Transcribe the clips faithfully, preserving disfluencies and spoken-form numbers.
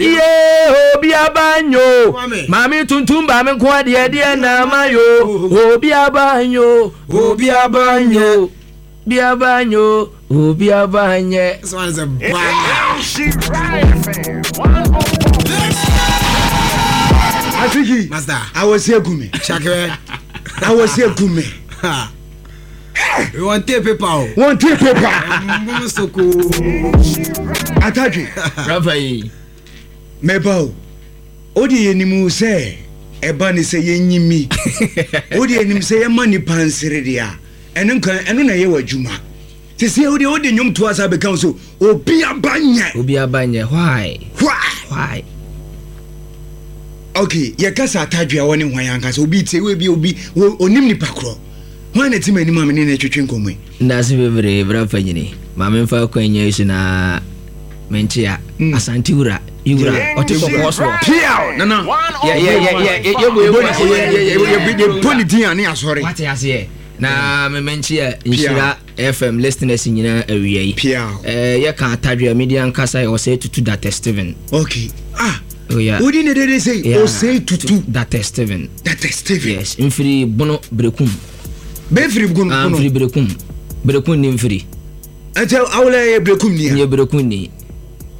Iye, obi abanyo. Maame tuntum ba me nko adeɛ deɛ na ama yo. Obi abanyo, obi abanyo. Obi abanyo, obi abanyɛ. This one is a banger. Afiki. Master. Awɔsi egu me. Shakira. Awɔsi egu me. We want tape paper. O. Wɔn ti paper. Mbom soko. Atadwe. Rafa yi. Mɛba o. O de yɛ nimu sɛ ɛba ne sɛ yɛnyi mi. O de yɛ nim sɛ yɛma nipa nsere deɛ a ɛno nka ɛno na ɛyɛ wɔ adwuma. Sisi o de o de nnwom to asa bɛka so obi aba nyɛ. Obi abanyɛ. Why? Why? Why? Okay, yɛkasa Atadwe a wɔne hwan ankasa obi tie wo bi obi wo onim nipa korɔ. Hwan na ti ma anim a me ne no twetwe nkɔmmɔ yi? Ndase bebree bra panyini. Maame mfa kwan yi so na menkyea Asante wura. Iwura ɔte kɔkɔɔ soɔ. Piaw nana. Yɛ yɛ yɛ yɛ yɛ yɛ Yɛ yɛ yɛ bɔ ne din a ne asɔre. Wate aseɛ. Na me menkyea Nhyira F M listeners nyinaa awia yi. Piaw. Eh, yɛka Atadwe a media nkasa yɛ Ɔsɛe Tutu Data Steven. Okay. Ah. Oh yeah. Wodi ne dede sɛ Yeah. Ɔsɛe Tutu. Data Steven. Data Steven. Yes, mfiri Bono Berekum. Bɛfiri gun Ah, kono. mfiri Berekum. Berekum ni mfiri. Ɛnti awolɛ yɛ Berekum ni a. Nyɛ Berekum ni.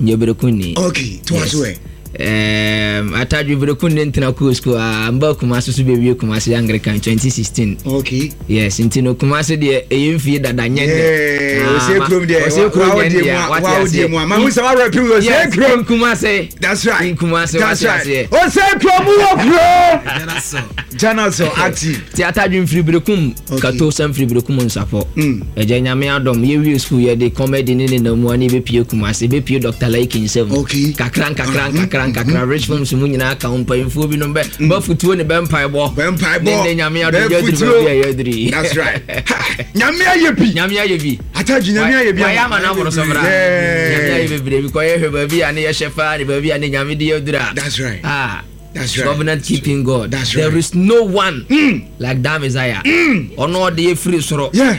Nyɛ Berekum ni. Okay, to aso ɛ. Um, Atadwe Berekum ne ntena koo school a mba Kumase so bɛwie Kumase Anglican twenty sixteen. Okay. Yes, nti no Kumase deɛ ɛyɛ mfie dada nyɛ nnɛ. Yeah, Ah, Ɔsɛ ma- kurom deɛ. Ɔsɛ kurom Wa- nyɛ wa- nnɛ a, wate wa- aseɛ. mu a. Ma hu sɛ wa rap ɔsɛ Yes, kurom. Kumase. That's right. Kumase, That's wate right. aseɛ. Ɔsɛ kurom wɔ kuro. Jana so. Jana so active. Ti Atadwe mfiri Berekum. Okay. Kato sɛ mfiri Berekum Nsapɔ. Mm. Ɛgya Nyame adɔm yɛwie school yɛde comedy ne nenam a ne yɛbɛpie Kumase, bɛpie Doctor Laiki nsɛm. Okay. Kakra nkakra nkakra nkakra, Rich Films mu nyinaa ka ho, mpanyimfoɔ binom bɛ bɛfotuo ne bɛmpaebɔ. Bɛmpaebɔ. Ne ne Nyame adɔm yɛduru Bɛfutuo. baabi a yɛduru yi. That's right. Ha, Nyame ayɛ bi. Nyame ayɛ bi. Atadwe Nyame ayɛ bi. Wayɛ ama no aboro so bra. Yeah. Nyame ayɛ bebree bi kɔ yɛhwɛ baabi a ne yɛhyɛ paa ne baabi a ne Nyame de yɛduru a. That's right. Ah. That's right. Covenant keeping God. That's There right. is no one Mm. like that Messiah. Ɔno ɔde yɛ firi soro. Yeah.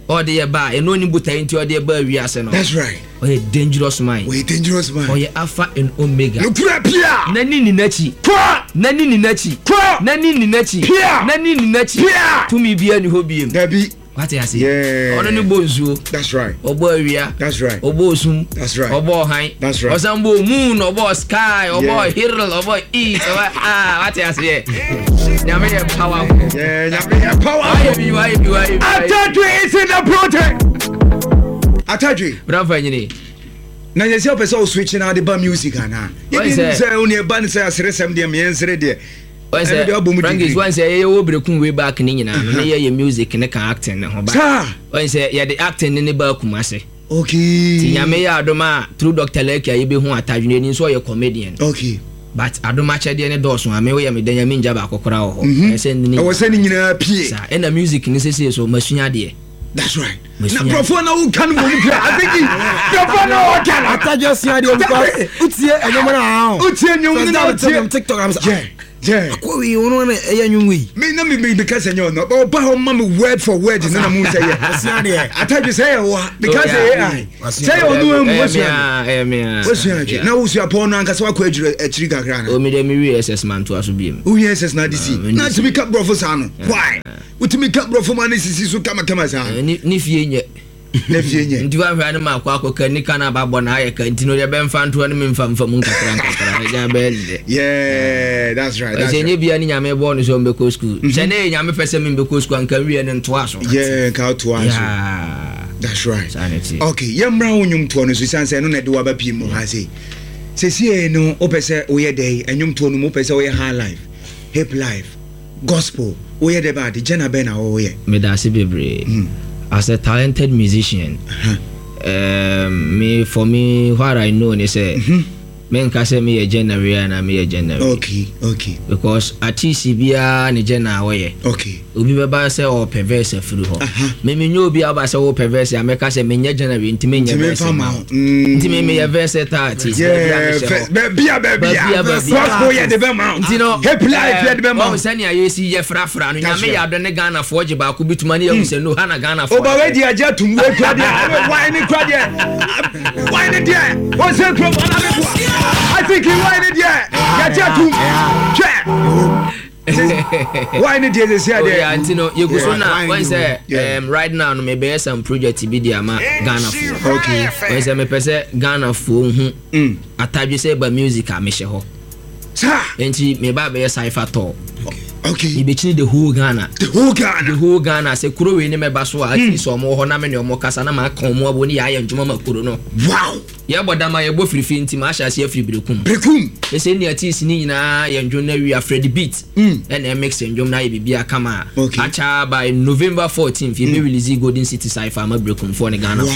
Ɔde yɛ ba ɛno ni botae nti ɔde yɛ ba wiase no. That's right. Ɔyɛ dangerous man. Wɔyɛ dangerous man. Ɔyɛ Alpha and Omega. Nukura pia. N'ani ni n'akyi. Kɔ. N'ani ni n'akyi. Kɔ. N'ani ni n'akyi. Pia. N'ani ni n'akyi. Pia. Tumi bia ni hɔ biem. Dabi. Wate ase. Yeah. Ɔno ne bɔ nsuo. That's right. Ɔbɔ awia. That's right. Ɔbɔ osum. That's right. Ɔbɔ ɔhan. That's right. Ɔsan bɔ moon, ɔbɔ sky, ɔbɔ Yeah. hill, ɔbɔ east, ɔbɔ ah, wate aseɛ. Nyame yɛ powerful. Yeah, Nyame yɛ powerful. Wayɛ bi, wayɛ bi, wayɛ bi, wayɛ bi. Atadwe is in the building. Atadwe. Brafa nyini. Na yɛ sɛ wopɛ sɛ wo switch na ade ba music anaa? Wɔn yɛbi sɛ- sɛ wo ne ɛba ne sɛ aseresɛm deɛ meyɛnsere deɛ wɔn ɛno deɛ wabɔ mu sɛ Frankis degree. wɔn sɛ yɛyɛ wɔ Berekum way back ne nyinaa no ne yɛyɛ music ne ka acting ne ho ba. Saa. Wɔn sɛ yɛde acting ne ne ba Kumase. Okay ti Nyame yɛ adom a through Doctor Leki a yɛbɛhu Atadwe n'ani nso ɔyɛ comedian. Okay but adom akyɛdeɛ ne dɔɔso a me woyɛ me dɛn Nyame ngya baako koraa wɔ hɔ. Ɛyɛ sɛ ne ɛwɔ sɛ ne nyinaa pie. Saa ɛna music ne sesei so masua adeɛ. That's right. Na Masua. nkurɔfoɔ na woka no mmom kura afiki nkurɔfoɔ na wɔka no. Atadwe sua deɛ because wotie ɛnwom no a Wotie nnwom no na First time wotie. TikTok am sɛ Yeah, yeah. akɔ wei ɔno na ɛyɛ nnwom wei. Me na me me meka sɛ nyɛ ɔno ɔba hɔ ma me word for word ne na mu sɛ yɛ. Wasua deɛ. Atadwe sɛ yɛ wa meka Oh, sɛ yeah. A I sɛ yɛ ɔno amu Ɛyɛ wasua me a, ɛyɛ me a. wasua adwe Yeah. na wosua pɔn no ankasa wakɔ agyiri akyiri kakra na O mi dɛ mi wie S S man to aso biem. Wohia S S na ade si Ah, me na ndi si. tumi ka borɔfo saa no, why wotumi ka borɔfo ma ne sisi so kamakama saa? Ne ne fie nyɛ. Na fie nyɛ. Nti wahwɛ ne ma akɔ akɔka nika no ababɔ na ayɛ ka nti no deɛ bɛmfa ntoɔ ne memfa mfa mu nkakra nkakra ɛgya bɛyɛ ne dɛ. Yeah, that's right, that's ɛsɛ right. nyɛ bia ne Nyame bɔɔ no sɛ ɔmbɛkɔ school sɛ ne yɛ Nyame pɛ sɛ membɛkɔ school anka nwie no ntoa so. Yeah, nka wotoa so. Yeah. That's right. Saa ne te. Okay, yɛmmra wo nnwomtoɔ no so siane sɛ ɛno na ɛde waba pii mu ha sei. Sɛsie no wopɛ sɛ woyɛ dɛn ɛnwomtoɔ no mu? Wopɛ sɛ woyɛ high life, hip life, gospel, woyɛ dɛ baade gyana bɛn na wɔwoyɛ? Meda ase bebree. As a talented musician, um, me for me, what I know ne sɛ menka sɛ meyɛ genre a na meyɛ genre. okay okay Because artist biara ne genre a wɔyɛ. Okay obi bɛba sɛ ɔpɛ verse afiri hɔ. Aha. Memenyɛ obi aba sɛ wopɛ verse a mɛka sɛ menyɛ genre nti menyɛ nti verse memfa ma ma wo. wo. Mm. Nti me meyɛ versatile artist. Yeah, baabi a mehyɛ fɛ- hɔ. baabia Baabia, baabia baabia. Gospel yɛ de bɛma wo. Nti no hip life yɛ de bɛma ɔhu wo. sɛnea yɛsi yɛ frafra no. That's Nyame yɛ right. adɔ ne Ghanafoɔ gye baako bi tuma ne yɛhu sɛ no ha na Ghanafoɔ Oba wadi agye atum wei kura deɛ wine ne kura deɛ Why ne deɛ wɔnsɛ kurom anameboa Aziki why ne deɛ yɛgye atom hwɛ why ne deɛ sɛsi Oh, yeah, adeɛ nti no yɛgu so na Yeah. wɔn sɛ Yeah. um, right now no mebɛyɛ some project bi de ama Ghanafoɔ. Okay. Wɔn sɛ mepɛ sɛ Ghanafoɔ hu Mm. Atadwe sɛ ɛba music a mehyɛ hɔ. Saa. Nti meba abɛyɛ cypher tour. Okay. Mebɛkyini the whole Ghana. The whole The Ghana. whole Ghana sɛ kuro wei ne mɛba so a, at least ɔmo wɔ hɔ na me ne ɔmo kasa na maaka ɔmo abo ne yɛayɛ ndwuma ma kuro no. Wow. Yɛbɔ dama, yɛbɔ firifiri, nti maahyɛ aseɛ afiri Berekum. Berekum. Ɛsɛ nea artist ne nyinaa yɛ ndwom no awie, Freddy Beat Mm. ɛna ɛmix ndwom no ayɛ biribi kama a Okay. akyɛ by November fourteen yɛbɛ release Golden City Cypher ama Berekumfoɔ ne Ghana. Wow.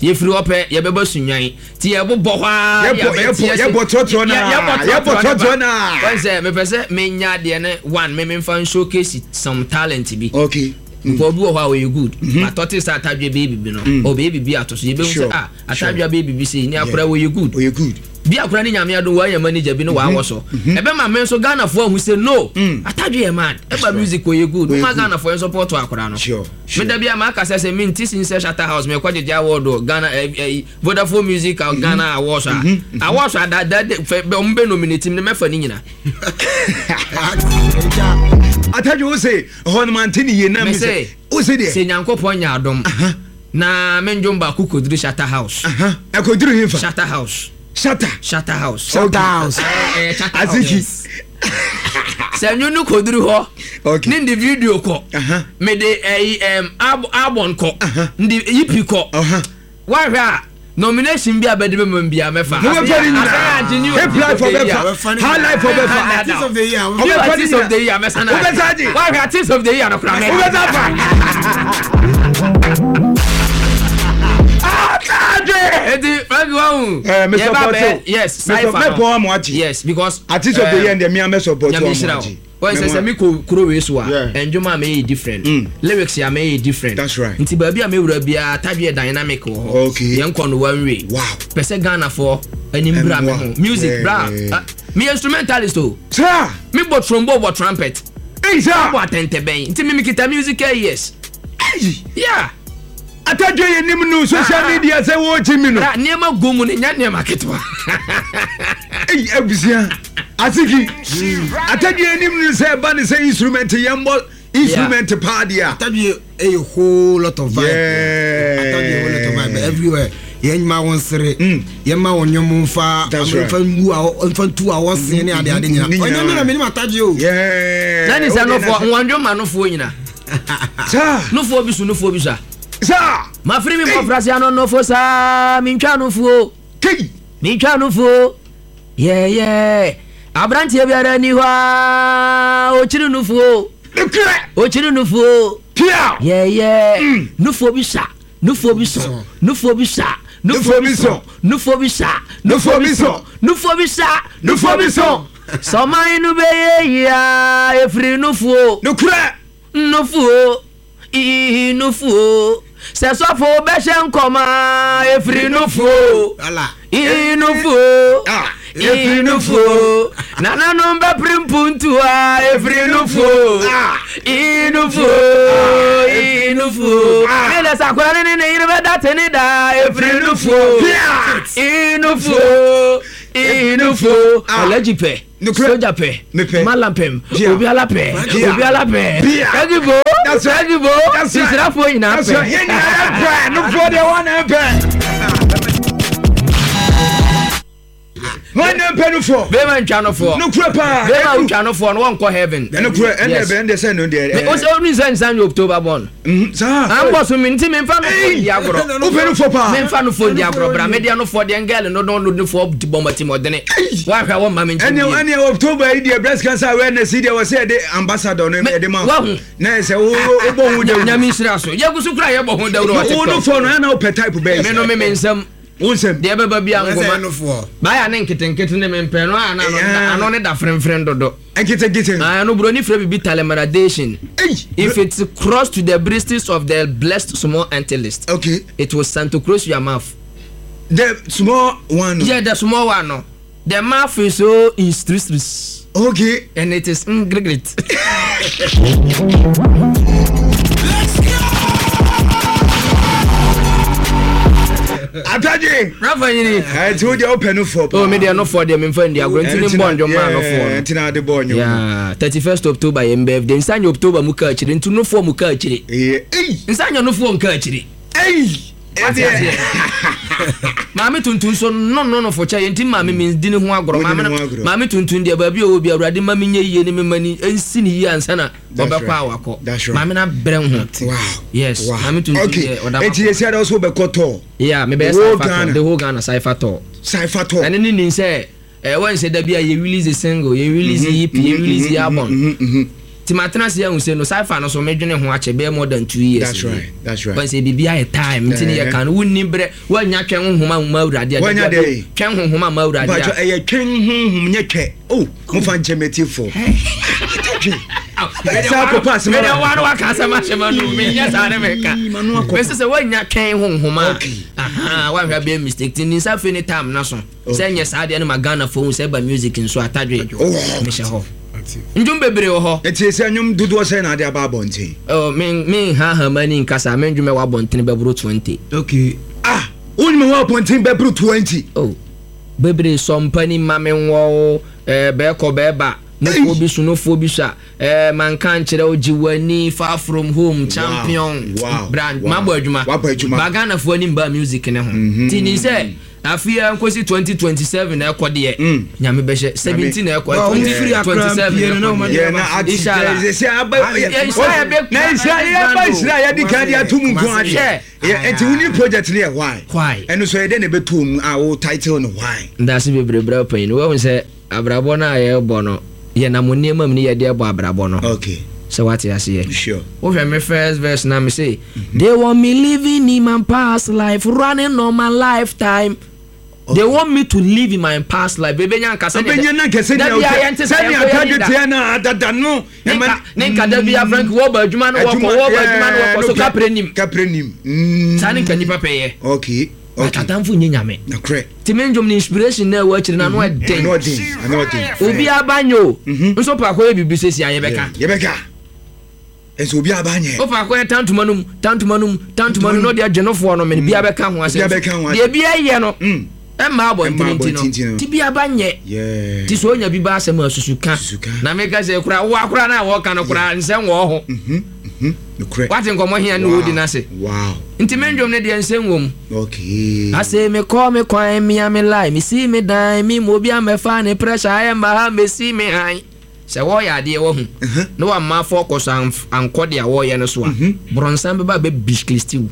Yɛfiri hɔ pɛ, yɛbɛbɔ Sunwan nti yɛbobɔ hɔ a. Yɛbɔ- yɛbɔ- yɛbɔ trɔtrɔ naa. Yɛbɔ trɔtrɔ naa. Wɔn sɛ mepɛ sɛ menya adeɛ ne one me memfa showcase some talent bi. Okay. Because obi wɔ hɔ a ɔyɛ good, but ɔte sɛ Atadwe bɛyɛ bibi no, ɔbɛyɛ bibi ato so, yɛbɛhu Sure. sɛ ah, Atadwe bɛyɛ bibi sei ne akora wɔyɛ good. Ɔyɛ good. Bi akora ne Nyame adom wɔayɛ manager bi ne waawɔ so, ɛbɛma me nso Ghanafoɔ ahu sɛ no, Atadwe yɛ mad, ɛba music ɔyɛ good. Ɔyɛ woma good. Ghanafoɔ yɛn support akora no. Sure, sure. Meda bi a maaka sɛ sɛ mente sin sɛ Shatta House mekɔ gyegye award wɔ Ghana eh, eh, Vodafone Music mm Ghana Awards a awards a da da fɛ bɛ ɔmo bɛ nominate mi ne mɛfa ne nyina. Atadwe, wo se ɛhɔ no mante ne yie na me me sɛ sɛ wo se deɛ sɛ Nyankopɔn nya adom na mendwom baako kɔduru Shatta House. Aha, ɛkɔduru hemfa? Shatta House. Shatta. Shatta House. Shatta House. Eh, eh, Shatta House. Aziki. Sɛ nwom no kɔduru hɔ Okay. ne ndi video kɔ, Aha. mede ɛyi ɛm ab album kɔ, Aha. ndi E P kɔ, Ɔha. wahwɛ a nomination bi a bɛde bɛma m bia mɛfa. Mobɛfa ne nyinaa. Hip life ɔbɛfa, high life ɔbɛfa. Artist of the Year. Ɔbɛfa ne Artist of the Year mɛsa na. Wobɛsa agye. Wahwɛ, Artist of the Year no kora mɛfa. Wobɛsa fa Atadwe. Eti Frank wahu. Eh, me Yɛba support bɛ o. yes Me cypher sup- no. mɛpɔ ama agye. Yes, because Artist of the Year deɛ mea mɛ support Nyame o ama nhyira agye. wo. Wɔn sɛ sɛ mi kɔ kuro wei so a, Yeah. ndwom a mɛyɛ different, Mm. lyrics a mɛyɛ different. That's right. Nti baabi a mɛwura biara, Atadwe yɛ dynamic wɔ hɔ. Okay. Yɛn kɔ no one way. Wow. Pɛ sɛ Ghanafoɔ anim bra me Ɛmmoa. ho music Yeah. bra. Ah, meyɛ instrumentalist o. Saa. Mi bɔ trombone, bɔ trumpet, Ei, saa. bɔ atɛntɛbɛn, nti mi mi kita musical ears. Ei. Yeah. Atadwe yɛ nim no social media sɛ wɔɔkyi mi no. Bra, nneɛma gu mu no nya nneɛma ketewa. Ei, abusua, Asiki, Atadwe yɛ nim no sɛ ɛba ne sɛ instrument yɛmbɔ instrument paa deɛ a. Atadwe a whole lot of vibe. Yeah. Atadwe a whole lot of vibe everywhere. Yɛn nyuma wɔn sere. Mm. Yɛn ma wɔn nnwom nfa. That's right. Nfa ngu a nfa ntu a wɔsen ne ade ade nyina. Ne nyinaa. Ɔnyɛ mi na mi ni ma Atadwe o. Yeah. Na ne sɛ Wode nofoɔ na sɛ- nwandwo ma nofoɔ nyina. Saa. Nofoɔ bi so, nofoɔ bi so a Saa. mafiri mi mmɔfra se ano nofo saa mentwa nofoɔ. Kei. Mentwa nofoɔ yɛyɛ aberanteɛ biara ni hɔ a ɔkyiri nofoɔ. Nokorɛ. Ɔkyiri nofoɔ. Pia. Yɛyɛ nufoɔ bi sa, nufoɔ bi sɔ, nufoɔ bi sa, Nufoɔ bi sɔ. Nufoɔ bi sa. Nufoɔ bi sɔ. Nufoɔ bi sa. Nufoɔ bi sɔ. Sɔman no bɛyɛ yia efiri nufoɔ. Nokorɛ. Nufoɔ ii nufoɔ sɛ sɔfo bɛhyɛ nkɔma efiri nufoɔ. Ala. Ii nufoɔ. Ah. Ii nufoɔ, nananom bɛpere mpuntua efiri nufoɔ. Ah. Ii nufoɔ, ii nufoɔ. Ah. Ne lɛ sakora ne ne ne yere bɛda te ne da efiri nufoɔ. Pia. Ii nufoɔ, ii nufoɔ. Ah. Alhaji pɛ. Nokorɛ. Soja pɛ. Mepɛ. Malam pɛm. Pia. Obiala pɛ. Pia. Obiala pɛ. Pia. Ɛgibo. That's right. Ɛgibo. That's right. Nsirafoɔ nyinaa That's right. pɛ. Yɛn nyinaa yɛpɛ nufoɔ deɛ wɔn na mpɛ wɔn na mpɛ nufoɔ. Bɛrima ntwa nofoɔ. Nokorɛ paa. Bɛrima ntwa nofoɔ no wɔnkɔ heaven. Nokorɛ ɛnna Yes. ɛbɛn deɛ sɛ no deɛ. Me- o sɛ onu sɛ nsan yɛ October born. Mhm, saa. An bɔ so mi nti mi nfa nofoɔ di agorɔ. Wopɛ nufoɔ paa. Mi nfa nofoɔ di agorɔ bra, mi deɛ nofoɔ deɛ ngɛlɛ no no nofoɔ di bɔ mɔti mɔdene. Wahwɛ wɔn ma mi nkyɛn ɛnɛ bie. Ɛnɛ October yi deɛ, breast cancer awareness yi deɛ, wɔ sɛ yɛde ambassador no yɛde ma. Wahu. Na yɛ sɛ wo wobɔ ho dawuro. Nyame nhyira so, yɛgu so kura yɛbɔ ho dawuro wɔ Wo TikTok. nufoɔ no ɛna wopɛ type bɛyɛ. Me no me me nsɛm. Wo nsɛm. Deɛ ɛbɛba bi a Wɔn sɛ nkoma. ɛnofoɔ. Baayɛ ne nketenkete ne me mpɛ no a na ano Yeah. ano ne da fremfrem dodo. Nketenkete. Ah, no buroni frɛ bibi telemeradation. Ei. If it's cross to the bristles of the blessed small antelist, okay it will Santa Cruz your mouth. The small one no. Yeah, the small one no. The mouth is so instrus okay and it is ngregret. Atadwe. Rafa nyini. Ɛnti wo deɛ wopɛ no fɔ paa. O, mi deɛ no fɔ deɛ, memfa ndi agorɔ, nti ne mbɔ ndwom maa no fɔ no. Nti na ade bɔ nnwom. Yeah, thirty-first October yɛn birthday, nsa nyɛ October mu ka akyire, nti nofoɔ mu ka akyire. Ɛyɛ ei. Nsa nyɛ nofoɔ nka akyire. Ei. Wate aseɛ? Maame Tuntum so no no no fo kyɛ yɛn, nti maame mi di ne ho agorɔ. Wodi ne maame ho no agorɔ. Maame Tuntum deɛ, baabi a ɔwɔ bi, Awurade ma mi nye yie ne mi ma ni nsi ne yie ansa na That's ɔbɛkɔ right. a wakɔ. That's right. Maame na brɛ ho. Wow. Yes. Wow. Maame Tuntum Okay. deɛ, ɔda Enti ma. yɛsi ada so wobɛkɔ tɔ. Yeah, mebɛyɛ The whole cypher Ghana. tour, the whole Ghana cypher tour. Cypher tour. Ɛne ne nim sɛ ɛɛ wɔn sɛ dabi a yɛ release single, yɛ release E P, yɛ release album, Mhm, mhm. nti ma tena se ahu sɛ no cypher no so medwene ho akyɛ bɛyɛ more than two years. That's right. That's right. Wɔn sɛ biribi ayɛ time, nti ne Eh. yɛ kan no wunni brɛ, wɔanya twɛn honhom a ma Awurade a Wɔanya dabi a dɛn? Twɛn honhom a ma Awurade Mpatsɔ a ɛyɛ twɛn honhom, nyɛ twɛ. Oh, mofa nkyɛn mɛti fo. Atadwe. Saa akɔpa asɛm mede aba. wa no waka asɛm ahyɛ ma no, menyɛ saa ne meka. Ii, ma no akɔ. Mɛsɛ sɛ woanya twɛn honhom a, Okay. aha, woahwɛ bɛyɛ mistake, nti ne nsa afei ne time na so sɛ nyɛ saa deɛ no ma Ghana fo hu sɛ ɛba music nso, Atadwe Oh. mehyɛ hɔ, ndwom bebree wɔ hɔ. Eti esi ɛnwom dodoɔ sɛ na ade aba abɔnten? Oh, men menha mani nkasa, me ndwom ɛwɔ abɔntene bɛboro twenty. Okay. Ah, wonyim wɔ abɔnten bɛboro twenty? Oh, bebree. Sɔmpani ma me nwɔ ɛɛ bɛɛkɔ bɛɛba nofoɔ bi so, nofoɔ bi so a ɛɛ manka nkyerɛ wo, gye w'ani, Far From Home, Champion. Wow, Brand. wow. Mabɔ adwuma. Wabɔ adwuma. Ba Ghanafoɔ anim ba music ne ho, nti ni sɛ afei nkosi twenty twenty-seven na ɛkɔ deɛ, Mm. Nyame bɛhyɛ seventeen na ɛkɔ. Well, ɔmo firi Accra twenty twenty-seven mpie no na na ɛkɔ ɔmo deɛ. Yɛ na ati Inshallah. sɛ aba. Yeah, Israel bɛ- Na Israel yɛ ba, Israel yɛ di kan de ato mu nko adeɛ. Hwɛ. Yɛ eti wuni project ni yɛ why? Why? Ɛno so yɛ dɛ na ɛbɛto mu a wo title no why? Ndase bebree brɛ panyin. Wɔn sɛ abrabɔ no a yɛrebɔ no, yɛnam nneɛma mu ne yɛde ɛbɔ abrabɔ no. Okay. Sɛ wate aseɛ? Sure. Wohwɛ me first verse na me say, "They want me living in my past life, running on my lifetime." Okay. They want me to live in my past life. Bebe nya nkasa. Ɔbɛnya na nkɛsɛ Da nea bia yɛnte sɛ sɛnea yɛnkɔ yɛn Atadwe da. teɛ na adada no. Ne nka ne nka da bia Frank wɔba adwuma no, wɔkɔ wɔba adwuma no, wɔkɔ so kapre nim. Kapre nim. Mm. Saa ne nka nipa pɛ yɛ. Okay. Okay. Atamfo nye Nyame. Nakorɛ. Nti me ndwom ne inspiration na ɛwɔ akyire na ano ɛden. Ano ɔden. Ano ɔden. Obi aba nyɛ o, nso paako yɛ biribi sɛsi a yɛbɛka. Yɛbɛka. Nso obi aba nyɛ. Wo paako yɛ tantoma no mu, tantoma no mu, tantoma no mu, na ɔde agye nofoɔ no mene bia bɛka ho asɛm. Obiara bɛka ho asɛm. Deɛ bia yɛ no Mm. ɛmma abɔntene Ɛmma nti no abɔntene nti no. nti bia ba nyɛ. Yeah. Nti sɛ onya bi ba asɛm a, susu ka. Susu ka. Na meka sɛ kora wo akora no a wɔka no kora nsɛm wɔ ho. Mhm. Mhm. Nokorɛ. Wate nkɔmmɔ hia ne wɔdi no ase. Wow. Nti me ndwom no deɛ, nsɛm wɔ mu. Okay. Ase mekɔ me kwan mea, me lie, mesi me dan me ma obi amɛfa ne pressure ayɛ mma ha mesi me han sɛ wɔyɛ adeɛ wahu na wamma afɔ kɔ so amf- ankɔ deɛ wɔyɛ no so a, borɔnsam bɛba bɛbiskristi wo.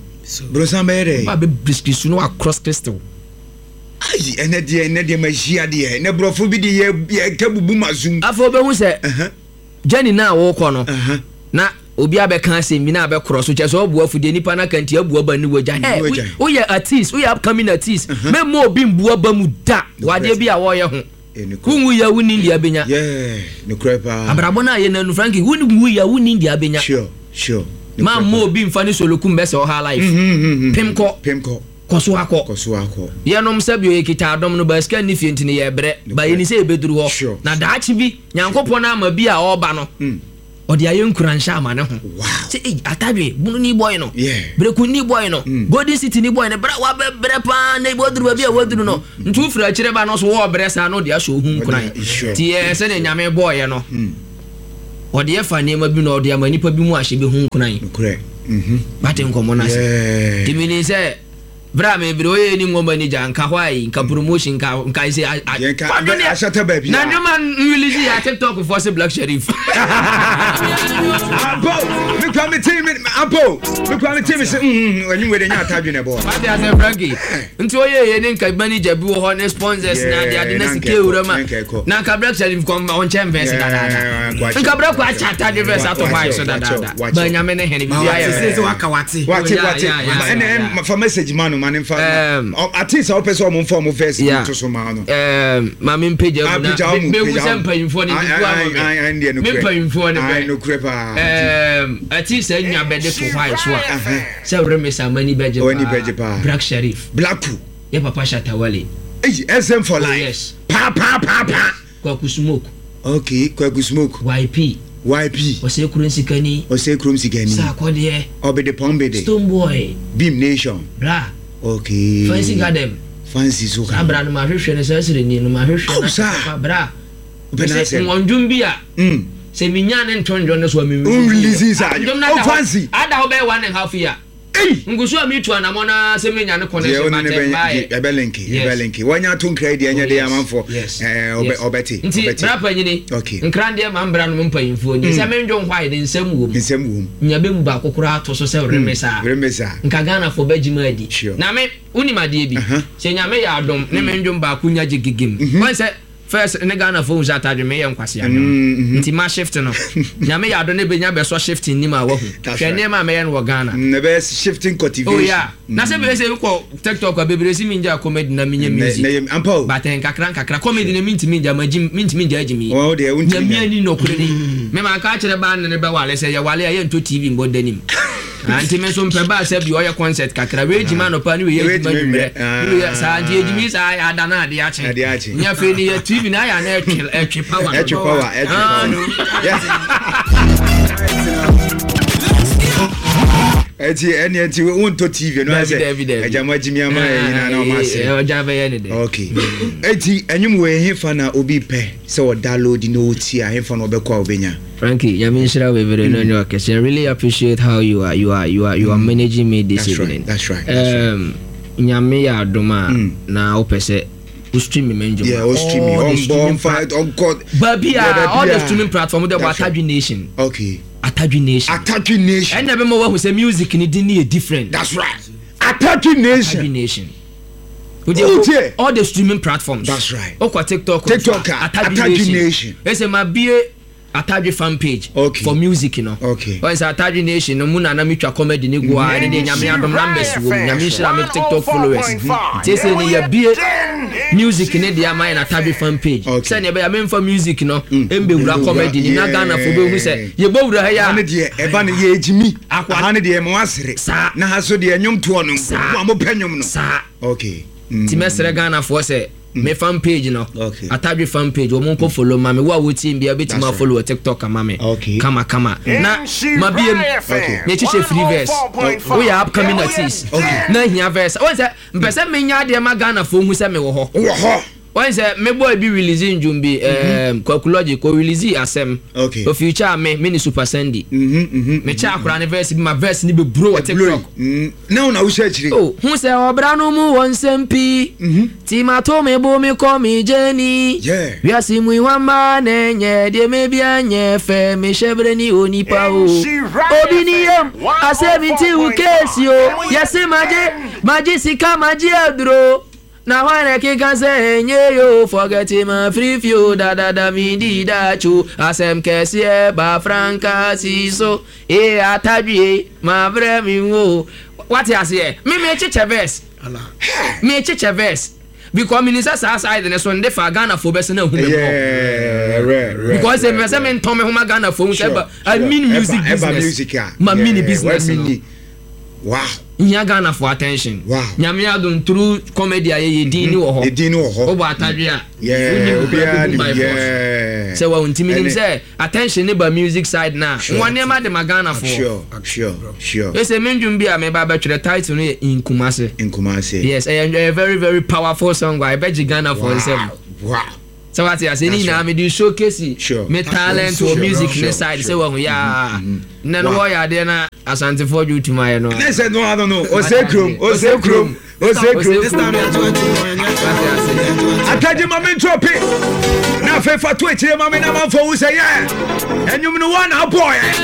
Brosan bɛyɛ dɛ. Ba bɛbiskristi na wacross kristi wo. Ayi, ɛnɛ deɛ ɛnɛ deɛ ma hyia deɛ ɛnɛ borɔfo bi de yɛ yɛ ka bubu ma zoom. Afei wobɛhu sɛ Ɛhɛn. gyani no a wokɔ no Ɛhɛn. na obi abɛka asɛm bi na abɛkorɔ so kyɛ sɛ ɔboa fudeɛ nipa no aka nti abua ba ne wagya. Ne wagya. Woyɛ artist, woyɛ upcoming artist, mɛmma obi mbua ba mu da wadeɛ bi a wɔyɛ ho. Eh, nokorɛ. Wonwu yɛ, wonni deɛ abɛnya. Yeah, nokorɛ paa. Abrabɔ no a yɛ nanu, Franki, wonwu yɛ, wonni deɛ abɛnya. Sure, sure. Ma mma obi mfa ne solokum bɛsɛ ɔha life. Mm-hmm. Pem kɔ. Pem kɔ. Kɔ so akɔ. Kɔ so akɔ. Yɛnom sɛbio yɛkita adɔm no ba, sika nni fie nti no yɛbrɛ ba, yɛni sɛ yɛbɛduru hɔ. Sure. Na daakye bi Nyankopɔn no ama bi a ɔreba no, Mm. ɔde ayɛ nkuranhyɛ ama ne ho Wow. sɛ ei, Atadwe Bunu ni boy no, Yeah. Breku ni boy no, Mm. Golden City ni boy no, brɛ wabɛbrɛ paa na waduru baabi a waduru no, nti wofiri akyirɛ ba no so wɔɔbrɛ saa na ɔde ahyɛ ohu nkuran. Ɔde- sure. Nti yɛ sɛdeɛ Nyame bɔɔyɛ no, Mm. ɔde yɛfa nneɛma bi na ɔde ama nipa bi mu ahyɛ bi ho nkuran. Nokorɛ. Mhm. Bate nkɔmmɔ no ase? Yeah. Nti menim sɛ berɛ a mebrɛ woyɛ ni ngɔma ni gya nka hɔ ayi nka promotion nka nka sɛ Yɛn ka ahyɛtɛ baabi na a. nnwoma nrelease yɛ TikTok foɔ sɛ Black Sherif. Apo, me kwa me team apo, me kwa me team sɛ mm mm anyi wede nya Atadwe na bo. Wate asɛ, Frankie? Nti woyɛ yɛ ne nka manager bi wɔ hɔ ne sponsors na ade ade na na sika nka ɛkɔ, ewura ma na nka ɛkɔ. na nka Black Sherif kɔ ɔnkyɛn verse dadaada, nka brɛ kɔ akyɛ Atadwe verse ato hɔ ayɛ so dadaada ba. Nyame ne hene biribi ayɛ sɛ sɛ waka wate. Wate. Yeah, Wate. yeah, yeah, Ɛna yeah, ɛm fa message ma no ma ne mfa. Um, Ate sɛ wopɛ sɛ ɔmo mfa ɔmo verse Yeah. to so ma no. Um, maame mpagya Ah, mu na pagya wo mu, mehu pagya sɛ wo mu. mpanyimfoɔ no Ai, ntutu ai, ama ai, ai, me. ndeɛ Me nokorɛ. mpanyimfoɔ no Ai, bɛ nokorɛ paa. Um, ɛti sɛ nya bɛde to hɔ ayɛ so a sɛ remesa mani bɛgye. W'ani bɛgye paa. Black Sherif. Blacku. Yɛ papa Shatawale. Eyi S M for Oh, life. yes. Pa pa pa pa. Kwaku Smoke. Okay, Kwaku Smoke. Y P. Y P. Ɔsɛ kuro nsikani. Ɔsɛ kurom sikani. Saakɔdeɛ. Ɔbɛde pɔnbɛde. Stone Boy. Beam Nation. Bra. Okay. Fancy Garden. Fancy so Saa bra no, mahwehwɛ no, saa sireni no mahwehwɛ Oh, no. Saa. Papa bra. Wopɛ sɛ n'asɛm. nwɔndwom bi a Mm. sɛ menya ne nto ndwom no so a, Wonrelease saa. Ndwom no Oh, ada hɔ- Fancy. ada hɔ bɛyɛ one and a half year. Ei! Ngu so a metu anammɔ no sɛ menya ne Deɛ connection wo ne ne but bɛnya ɛmbaeɛ. ɛbɛ link. Yes. Ɛbɛ link, wɔnya to nkra yi deɛ, ɛnyɛ Oh, de yes. amanfoɔ. Yes. ɛɛ ɔbɛ Yes. Ɔbɛte. Nti Ɔbɛte. bra panyini, Okay. nkra deɛ, ma mbra no mpanyimfoɔ ni sɛ mendwom hɔ a yɛde nsɛm wɔ mu. Nsɛm wɔ mu. Nya bɛmu baako koraa to so sɛ remix a, Remix a, nka Ghanafoɔ bɛgye mu adi. Sure. Na me wonim adeɛ bi, Uh-huh. sɛ Nyame yɛ adom ne mendwom baako nya gye gegem wɔn sɛ first ne Ghanafoɔ hu sɛ atadwe meyɛ nkwasea Mm, mhm. nti ma shift no, Nyame yɛ adom ne bɛnya bɛsɔ shift nim a wahu. That's Hwɛ, right. nneɛma a mɛyɛ no wɔ Ghana. Mm, ɛbɛyɛ shifting cultivation. Oh yeah, na sɛ bɛyɛ sɛ wokɔ TikTok a, bebree si mengya comedy na menyɛ Na- music. na yɛ- ampa o. But nkakra nkakra, comedy no mentumi ngya, magyi mentumi ngya agyi mi. Wɔn deɛ, wontumi Nyame ngya. ani nɔkorɛ ni, mema ka kyerɛ baa ne ne bɛwale sɛ yɛwale a, yɛntɔ T V mbɔ danim. Ah, nti me nso mpɛ baa sɛ bi ɔyɛ concert kakra wei gyima anɔpa ne wei Wei yɛ gyima gyima nwummerɛ nwummerɛ. ne wei yɛ saa, nti yɛgyimi saa yɛ ada na ade akye. Ade akye. Nyɛ afei ne yɛ T V na ayɛ ana ɛtwe ɛtwe power no. Ɛtwe power, ɛtwe Ah, power. no. Yes. Ɛti ɛni ɛti wontɔ T V no Dabi, sɛ dabi, dabi. ɛgya mo agyimi ama yɛ nyinaa na ɔmo ase. Eh, ɔgya bɛyɛ ne dɛ. Okay, eti ɛnwom wɔ ɛhefa na obi pɛ sɛ ɔdownload na ɔtie a, ɛhefa na ɔbɛkɔ a ɔbɛnya? Frankie, nyame nhyira wo bebree no nyɛ ɔkɛse. I really appreciate how you are you are you are you are managing me this That's right, evening. that's right, that's right. Um, nyame yɛ adom a Mm. na wopɛ sɛ wo stream me ndwom. Yeah, o stream All the ɔmbɔ streaming ɔmfa ɔnkɔ baabi Yeah, a, baabi all the a. streaming platform de bɔ That's right. Atadwe Nation. Okay. Atadwe Nation. Atadwe Nation. Ɛnna bɛma wahu sɛ music ni din ne yɛ different. That's right, Atadwe Atadwe Nation. Nation. Oh, dear. All the streaming platforms. That's right. Okɔ TikTok. TikTok a, Atadwe Nation. Ɛsɛ ma bie Atadwe fan page Okay. for music no. Okay. Wɔn sɛ Atadwe Nation no mu na na metwa comedy ne gu a, ɛne deɛ Nyame adom numbers wɔ mu. Nyame nhyira me TikTok followers. Nti ɛsɛ ne yɛbie music ne deɛ ama yɛ na Atadwe fan page. Okay. Sɛnea ɛbɛyɛ memfa music no mbɛwura comedy ni na Yeah. Ghana fo bɛhu sɛ yɛbɛwura ha yi Ha ne a, deɛ, ɛba no yɛ gyimi. Akwa- Ha ne deɛ, mo asere. Saa. Na ha so deɛ, nnwom toɔ no. Saa. Mo a mopɛ nnwom no. Saa. Okay. Mm. Nti mɛsrɛ Ghanafoɔ sɛ me fan page no, Okay. Atadwe fan page, wɔn nkɔ follow ma me. Wo a wotie bia, bɛtumi That's right. afollow wɔ TikTok ama me. Okay. Kama kama na mabiem Okay. yɛkyekyɛ free verse. Woyɛ upcoming artist Okay. na hia verse, wɔn sɛ mpɛ sɛ menya adeɛ ma Ghanafoɔ hu sɛ mewɔ hɔ. Wɔ hɔ. Wɔn sɛ me boy bi release ndwom bi, ɛɛm Kwakulogy kɔ release asɛm. Okay. O future me me ne Super Sandy. Mhm, mhm. Mekyɛ akora ne verse bi ma verse ni bɛ buro wɔ TikTok. Mm. Na wo na wohyɛ akyire. Oh, hu sɛ ɔbra no mu wɔ nsɛm pii nti mato me bo me kɔ me gyeni. Yeah. Wiase mu iwamba na ɛnyɛ deɛ mebia nyɛ fɛ, mehyɛ berɛ ne onipa o obi ni yam asɛm nti wo keesi o yɛse magye magye sika, magye aduro na hwan na ɛkeka sɛ ɛnyɛ yo, forget ma free o dadada medi dakyo asɛm kɛseɛ ba franka si so e atadwie ma brɛ me wo wate aseɛ. Me mekyekyɛ verse, mekyekyɛ verse because menim sɛ saa side ne so nde fa Ghanafoɔ bɛsɛ na ahu me mɔ. Yeah, rɛ, rɛ, Because sɛ rɛ, mepɛ sɛ rɛ. mentɔn me ho ma Ghanafoɔ hu sɛ Sure, ɛba I sure. mean music Ɛba- ɛba business. music a. Ma Yeah, mini business wa no. mini. Wow. Nhia Ghanafoɔ attention. Wow. Nyame adom, through comedy a yɛyɛ, din ni wɔ hɔ. Edin ni wɔ hɔ. Wobɔ atadwe a, Yeah, wonim obiara bɛbu nim. by force. Yeah. Sɛ wɔn ntumi nim Ɛne- sɛ attention ne ba music side na Sure. wɔn nneɛma de ma Ghanafoɔ. Sure, sure, sure. Ɛsɛ me ndwom bi a meba bɛtwerɛ, title no yɛ Nkumase. Nkumase. Yes, ɛyɛ ɛyɛ very very powerful song a ɛbɛgye Ghanafoɔ nsɛm. Wow. Sɛ wate ase ne That's nyinaa right. mede showcase Sure. me talent Sure, wɔ music sure, ne side. sure. Sɛ wahu yaa nnɛ no Wow. wɔyɛ adeɛ na Asantefoɔ dwe wotum ayɛ no. Ne sɛ no ano no, ose kurom, ose kurom, ose kurom. This time, yɛto ato, Wate ase. Atagye ma me ntrɔpe na afei fa to akyire ma me na mamfa wo sɛ yɛ ɛnwom no woa na abɔɛ.